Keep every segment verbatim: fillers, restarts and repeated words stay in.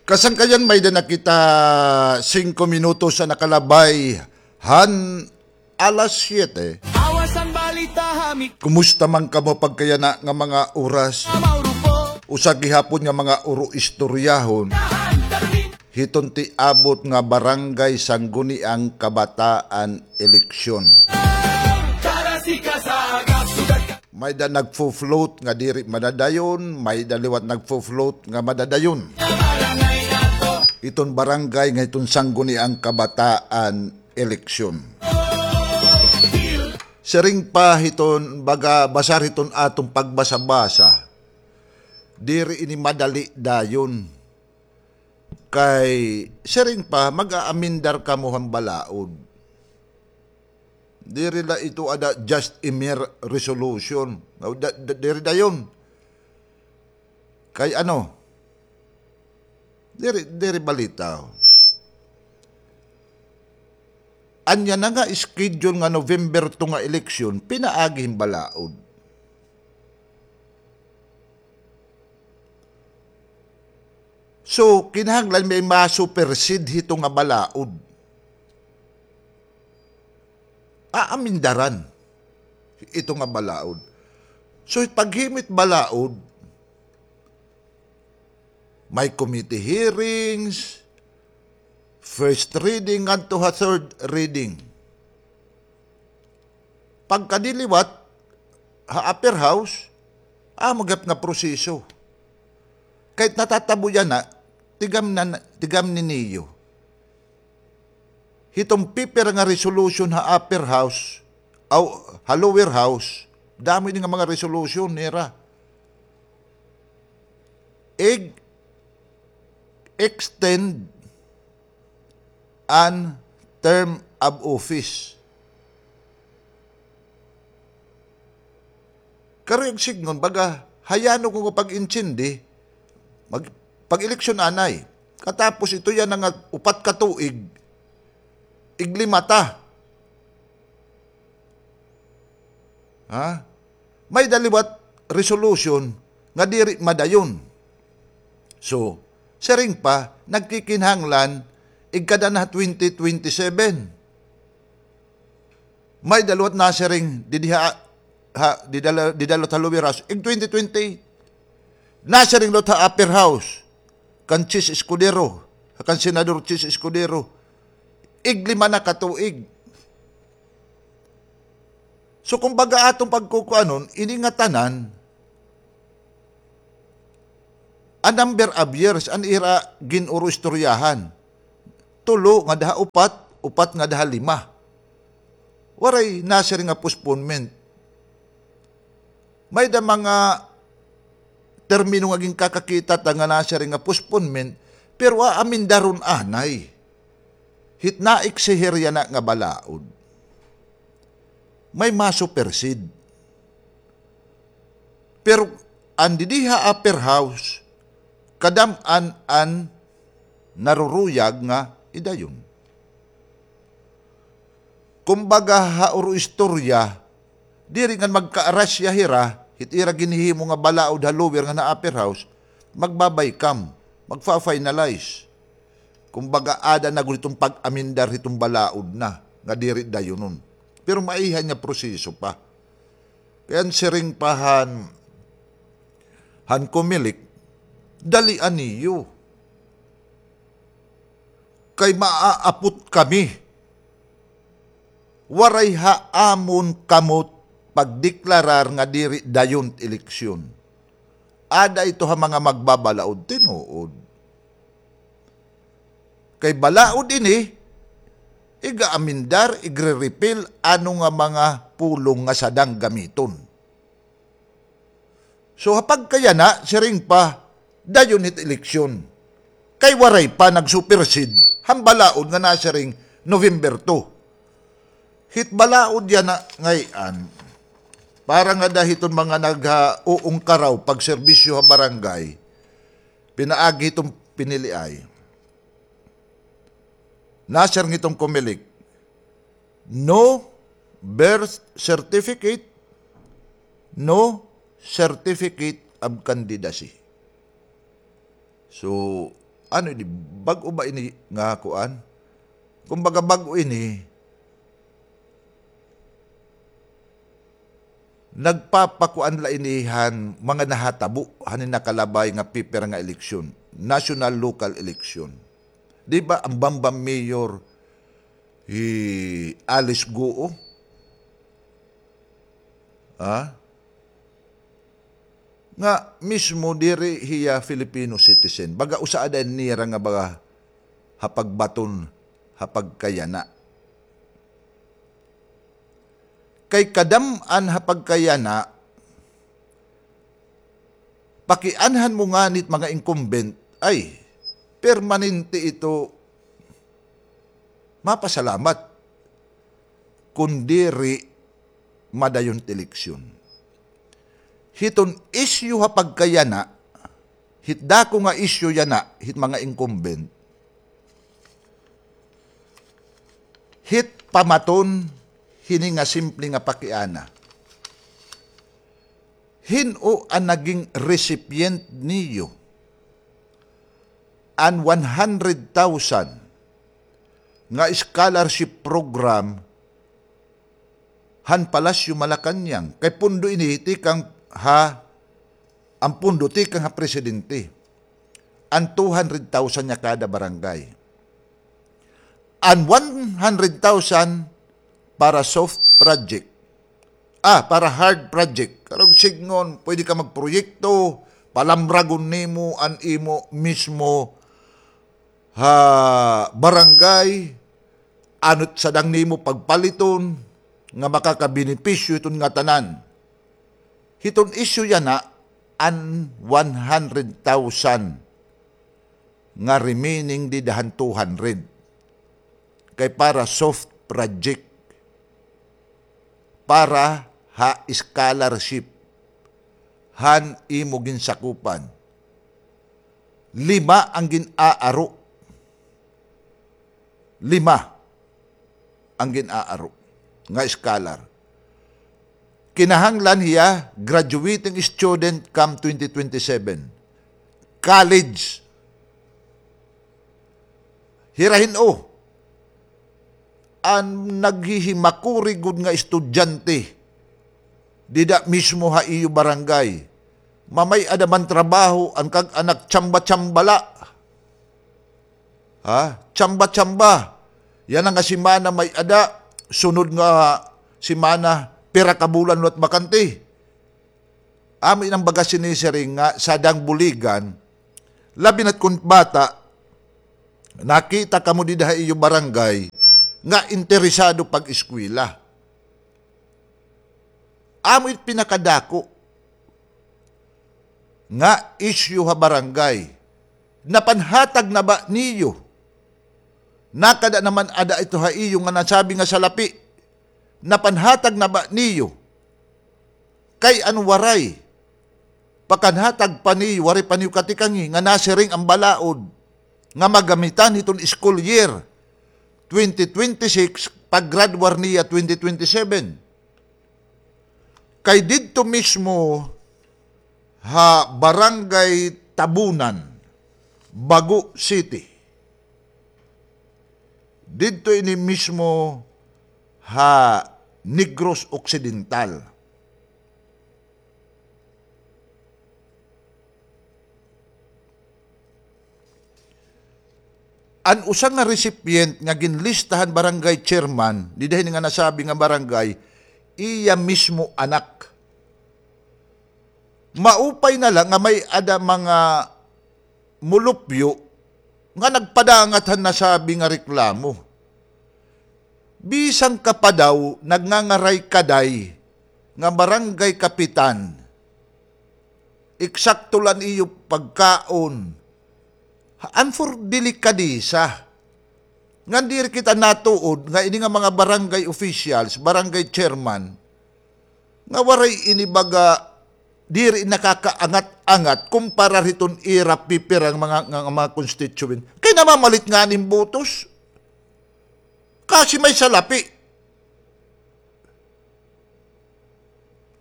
Kasangkayan, may-ada na kita singko minutos an nakalabay han alas siyete. Awas an balita ha mi. Kumusta man kamo pagkayana nga mga oras? Mauro po. Usa gihapon nga mga uro-istoryahon hiton tiabot nga Barangay Sangguniang Kabataan eleksyon. May-ada nagfo-float nga diri madadayon, may-ada liwat nagfo-float nga madadayon. Hiton barangay nga hiton Sangguniang Kabataan eleksyon. Siring pa hiton, baga, basar hiton aton pagbasa-basa, diri ini madali dayon. Kay siring pa, mag-aamendar kamo han balaod. Diri la ito ada just a mere resolution. Da-, da-, diri dayon. Kay ano? Diri, diri balita. Anya na nga schedule nga November two nga eleksyon, pinaagi hin balaod. So, kinahanglan may ma-supersede hito nga balaod. Aamindaran ito nga balaod. So, paghimo hit balaod, may committee hearings, first reading ngadto ha third reading. Pagkadi liwat ha upper house, amo gihap nga proseso. Kay natatabo yana, tigam na, tigam ni niyo. Hiton pipira nga resolution ha upper house, aw, ha lower house, damo ini nga mga resolution nira. Ig-extend an term of office. Kari ag sidngon, baga, hayanon ko nga pag-intindi, mag-, pag-eleksyon anay. Katapos ito yana nga upat ka tuig, iglima ta. Ha? May-ada liwat resolution nga diri madayon. So, siring pa, nagkikinahanglan, igkada na twenty twenty-seven. May-ada liwat nasiring didi ha, ha, dida la, dida la ha lower house, ig twenty twenty-eight. Nasiring liwat ha upper house, kan Chiz Escudero, kan Senador Chiz Escudero, iglima na ka tuig. So, kumbaga, aton pagkukuanon, ini nga tanan, a number of years an ira gin-uro-istoryahan. Tulo ngada ha upat, upat ngada ha lima. Waray nasiring nga postponement. May-ada mga termino nga ginkakakita ta nga nasiring nga postponement, pero aamindaron anay. Hit naeksihir yana nga balaod, may ma-supersede. Pero an didi ha upper house, kadam-an an naruruyag nga idayon. Kumbaga, ha uro-istorya, diri ngan magkaarasya hira, hit ira ginhihimo nga balaod ha lower ngan ha upper house, magbabay kam, magfa-finalize. Kumbaga, aada na gud hiton pag-amendar hiton balaod na, nga diri dayonon. Pero maiha nga proseso pa. Kay an siring pa han, han Comelec, dalia niyo. Kay maaapot kami. Waray ha amon kamot pagdeklarar nga diri dayon it eleksyon. Aada ito ha mga magbabalaod, tinuod. Kay balaod ini, iga-amendar, igre-repeal, ano nga mga pulong nga sadang gamiton. So, ha pagkayana, siring pa, dayon hit eleksyon. Kay waray pa nag-supersede han balaod nga nasiring November two. Hit balaod yana ngay-an, para ngada hiton mga nagha-, uungkaraw pagserbisyo ha barangay, pinaagi hiton piniliay. Nasiring hiton Comelec, no birth certificate, no certificate of candidacy. So, Ano ini? Bag-o ba ini nga kuan? Kumbaga, bag-o ini, nagpapakuan la ini han mga nahatabo han nakalabay nga pipira nga eleksyon, national local election. Di ba, an Bamban Mayor, hi Alice Guo? Ha? Nga mismo diri hiya Filipino citizen. Baga usa ada nira nga baga ha pagbaton, ha pagkayana. Kay kadam-an ha pagkayana, pakianhan mo ngani it mga incumbent, ay, permanente ito, mapasalamat kon diri madayon it eleksyon. Hiton isyu ha pagkayana, hit dako nga isyu yana, hit mga incumbent, hit pamaton hini nga simple nga pakiana. Hin-o an naging recipient niyo an one hundred thousand nga scholarship program han Palasyo Malacañang? Kay pondo ini tikang ha, an pondo tikang ha presidente. An two hundred thousand niya kada barangay. An one hundred thousand para soft project. Ah, para hard project. Karuyag sidngon, pwede ka magproyekto, palamragon nimo an imo mismo ha barangay, ano it sadang nimo pagpaliton, nga makakabenepisyo hiton ngatanan. Hiton isyu yana, an one hundred thousand nga remaining dida han two hundred. Kay para soft project, para ha scholarship han imo ginsakupan. Lima an gin-aaro. Lima an gin-aaro nga scholar. Kinahanglan hiya graduating student come twenty twenty-seven. College. Hira hin-o an naghihimakuri gud nga estudyante dida mismo ha iyo barangay. Mamay-ada man trabaho an kag-anak, tsamba-tsamba la. Ha? Tsamba-tsamba. Yana nga semana may-ada, sunod nga semana, pira ka bulan liwat bakante. Amo ini an baga sinisiring nga sadang buligan, labi na't kon bata, nakita kamo dida ha iyo barangay nga interesado pag-eskwela. Amo it pinakadako nga isyu ha barangay. Napanhatag na ba niyo? Nakada naman ada ito ha iyo nga nasabi nga salapi. Napanhatag na ba niyo? Kay an waray, pakanhatag pa niyo, waray pa niyo katikangi nga nasiring an balaod nga magamitan hiton school year twenty twenty-six, pag-graduar niya twenty twenty-seven. Kay didto mismo ha Barangay Tabunan, Bago City. Didto ini mismo ha Negros Occidental. An usa nga recipient nga ginlista han barangay chairman, dida hini nga nasabi nga barangay, iya mismo anak. Maupay na la nga may-ada mga mulupyo nga nagpadangat han nasabi nga reklamo. Bisan ka pa daw nagngangaray-kaday nga barangay kapitan, eksakto la an iyo pagkaon. An for delikadesa. Ngan diri kita natuod nga ini nga mga barangay officials, barangay chairman, nga waray ini baga, diri nakakaangat-angat kumpara hiton ira pipira nga mga, nga, nga mga constituent. Kay namamalit ngani hin botos. Kasi may salapi.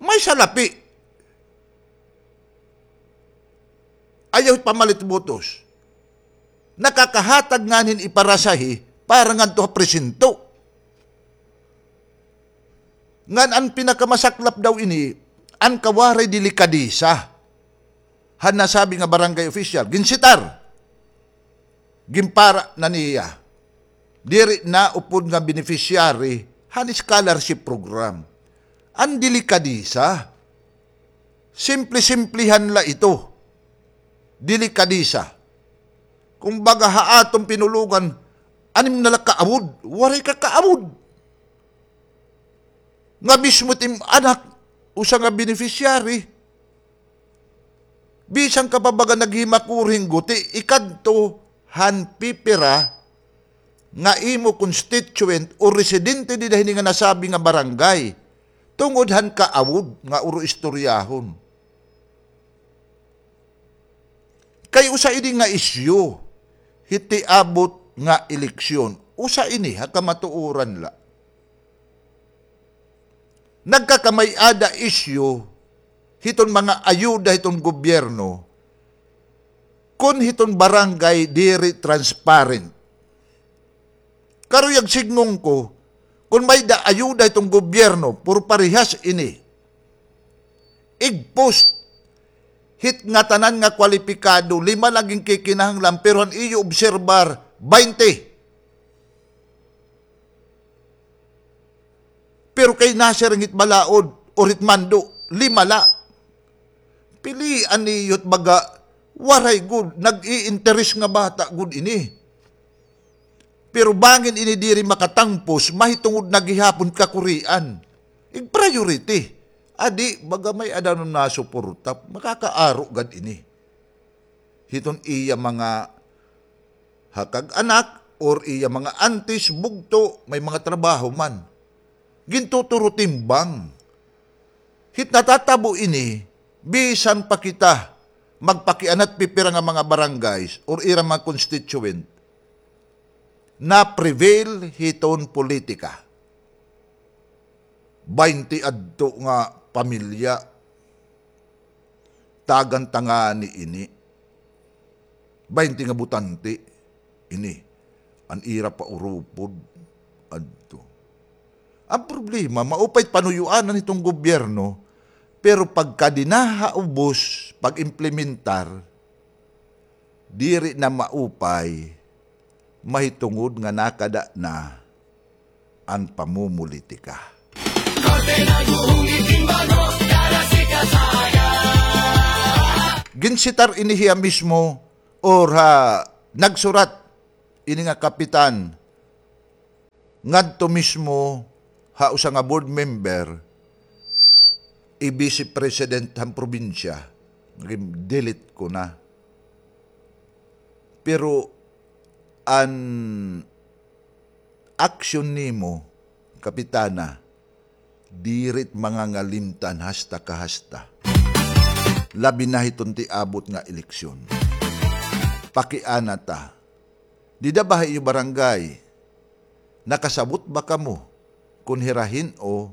May salapi. Ayaw pamalit botos. Nakakahatag ngani hin iparasahi para ngadto ha presinto. Ngan an pinakamasaklap daw ini, an kawaray delikadesa han nasabi nga barangay official. Ginsitar. Ginpara na niya. Diri na upod nga beneficiary han scholarship program. An delikadesa. Simple-simplehan la ito. Delikadesa. Kumbaga, ha aton pinulogan, anim na la kaawod, waray ka kaawod. Nga mismo it im anak, usa nga beneficiary. Bisan ka pa baga naghimakuri hin guti, ikadto han pipira nga imo constituent o residente dida hini nga nasabi nga barangay, tungod han kaawod nga uro istoryahon. Kay usa ini nga isyu hit tiabot nga eleksyon. Usa ini ha kamatuoran la. Nagkakamay-ada isyu hiton mga ayuda hiton gobyerno kon hiton barangay diri transparent. Karuyag sidngon ko, kon may-ada ayuda hiton gobyerno, pero parehas ini. Igpost hit ngatanan nga kwalipikado, lima la ginkikinahanglan, pero han iyo obserbar, baynte. Pero kay nasiring hit balaod or hit mando, lima la. Pilian niyo it baga, waray gud, nag-iinteres nga bata gud ini. Pero bangin ini diri makatangpos, mahitungod na gihapon kakurian. Ig-priority. Adi, baga may-ada na nasuporta, makakaaro gad ini. Hiton iya mga hakag-anak or iya mga antis, bugto, may mga trabaho man. Gintuturo timbang. Hit natatabo ini, bisan pa kita magpakianat pipira nga mga barangays or ira mga constituent, na-prevail hiton politika. Baynte adto nga pamilya, tagan ta ngani ini. Baynte nga botante ini. An ira pa urupod adto. An problema, maupay it panuyoanan hiton gobyerno, pero pagka dinaha ubos pag-implementar, diri na maupay, mahitungod nga nakada na an pamumulitika. Ginsitar ini hiya mismo or ha nagsurat ini nga kapitan ngadto mismo ha usa nga board member, i-vice president han probinsya, nagin delete ko na. Pero an aksyon nimo, Kapitana, diri it mangangalimtan hasta kahasta. Labi na hiton tiabot nga eleksyon. Pakiana ta. Dida ba ha iyo barangay? Nakasabot ba kamo kon hira hin-o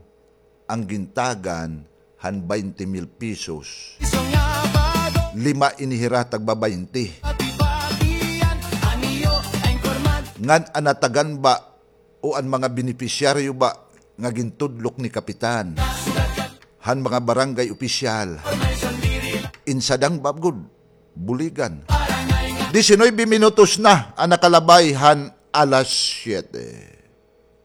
an gintagan han baynte mil pesos? Lima ini hira tagbabaynte. Ngan an natagan ba o an mga benepisyaryo ba nga gintudlok ni Kapitan han mga barangay opisyal? Insadang ba gud? Buligan. Diecinueve minutos na an nakalabay han alas siyete.